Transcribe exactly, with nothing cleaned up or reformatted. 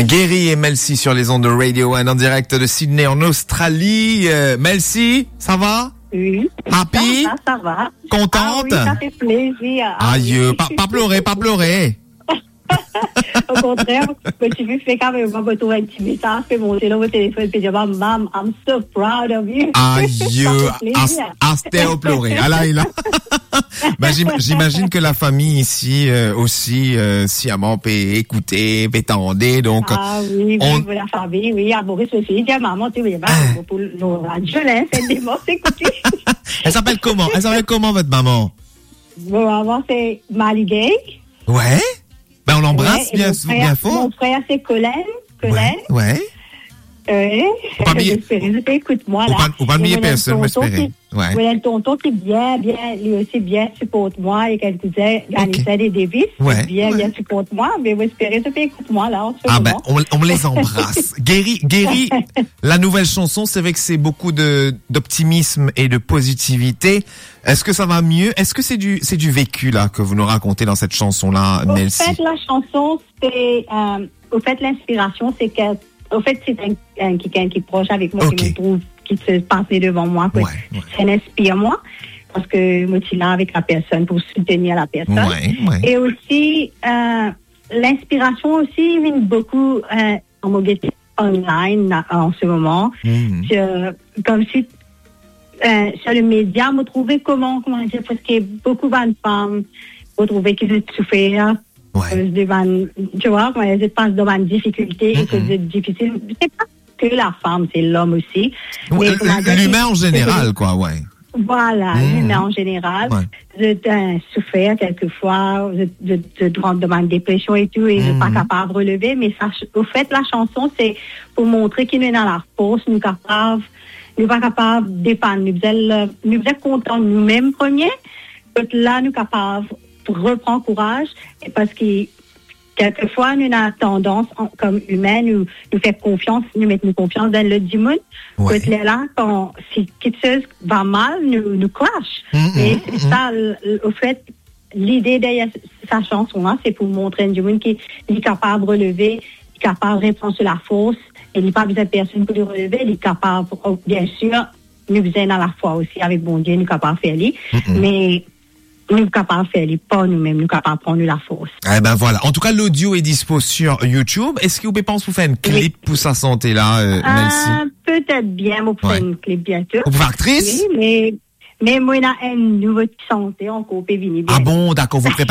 Guéry et Melcy sur les ondes de Radio un en direct de Sydney en Australie. Euh, Melcy, ça va? Oui. Happy? Ça va, ça va. Contente? Ah oui, ça fait plaisir. Ah oui. Aïe, pas, pas pleurer, pas pleurer. Au contraire, quand tu veux faire quand même, moi, tu trouves un petit message, fais monter dans votre téléphone, puis dire, "Maman, I'm so proud of you." Aïe, ça fait plaisir. As-, aster plore. Ah là, là. Ben, j'im-, j'imagine que la famille ici, euh, aussi, euh, siaman pe ekoute, pe tande, donc, ah oui, oui, on- oui, la famille, oui, à Maurice aussi, il dit à maman, tu vois, bah, pour le radio, là, c'est des morts, c'est écouté. Elle s'appelle comment? Elle s'appelle comment, votre maman? Bon, maman, c'est Maligay. Ouais. Ben, on l'embrasse bien, bien fort. Ouais, et mon frère, mon frère, c'est Colin. Colin. Ouais, ouais. Euh, ou pa bliye, j'espère que tu écoutes moi, là. Ou pa, ou pa bliye personne, mo espere. Ouais. Mon tonton qui bien, bien, lui aussi bien supporte moi et quelques années, ok, ça, des devis, ouais, bien, ouais, bien supporte moi, mais j'espère que tu écoutes moi, là, en ce moment. Ah ben, on, on les embrasse. Guéry, Guéry, la nouvelle chanson, c'est vrai que c'est beaucoup de, d'optimisme et de positivité. Est-ce que ça va mieux? Est-ce que c'est du, c'est du vécu, là, que vous nous racontez dans cette chanson-là, Melcy? Au fait, la chanson, c'est, euh, au fait, l'inspiration, c'est que, au fait, c'est un, un, quelqu'un qui est proche avec moi, ok, qui me trouve, qui se passe devant moi, que, ouais, ouais, ça inspire moi, parce que moi, je suis là avec la personne pour soutenir la personne. Ouais, ouais. Et aussi, euh, l'inspiration aussi vient beaucoup, euh, an mo gete online, la, an se moman. Mhm. Ti, euh, koumsi, euh, sur les médias, mo trouve kouma, kouma dir, parski boukou bann fam, mo trouve ki zot soufer, ouais, euh, de bann, tu vois, kouma dir, zot pas dan bann difikilte, e, mhm, koz zot difisil. Se pa ke la fam, se lom osi. Ouais, me kouma dir, l'humain en général, quoi, ouais. Vwala, hmm, limin an zeneral, ouais, zot, euh, soufer kelkefwa, zot, zot, zot rant dan bann depresion e tou, e zot pa, hmm, kapav releve, me sa, ofet, la chanson, se pou montre ki nou ena lafors, nou kapav, nou pa kapav depann, nou bizin, nou bizin kontan noumem premie, kot la nou kapav repran kouraz, e parski kelkefwa, nou ena tandans, an, kom imin, nou, nou fer konfians, nou met nou konfians dan lot dimoun. Ouais. Kot lerla, kan si kiksoz va mal, nou, nou crash. Mm, mm, mm. E se sa, l-, l-, ofet, lide deryer sa chanson la, se pou montre enn dimoun ki li kapav releve, li kapav repran so lafors, e li pa bizin personn pou li releve, li kapav, oh, bien sir, nou bizin ena lafwa osi avek Bondie, nou kapav fer li. Mm, mm. Me nou kapav fer li par noumem, nou kapav pran nou lafors. Eh ben voilà. En tout cas, l'audio est dispo sur YouTube. Est-ce que vous pouvez penser vous faire une clip, oui, pour sa chanson-là, euh, Melcy? Euh, peut-être bien, on peut faire, ouais, une clip bientôt. Vous pouvez faire actrice? Oui, mais, mais moi, il y a un nouveau chanteur encore, on peut venir bien. Ah bon, d'accord, vous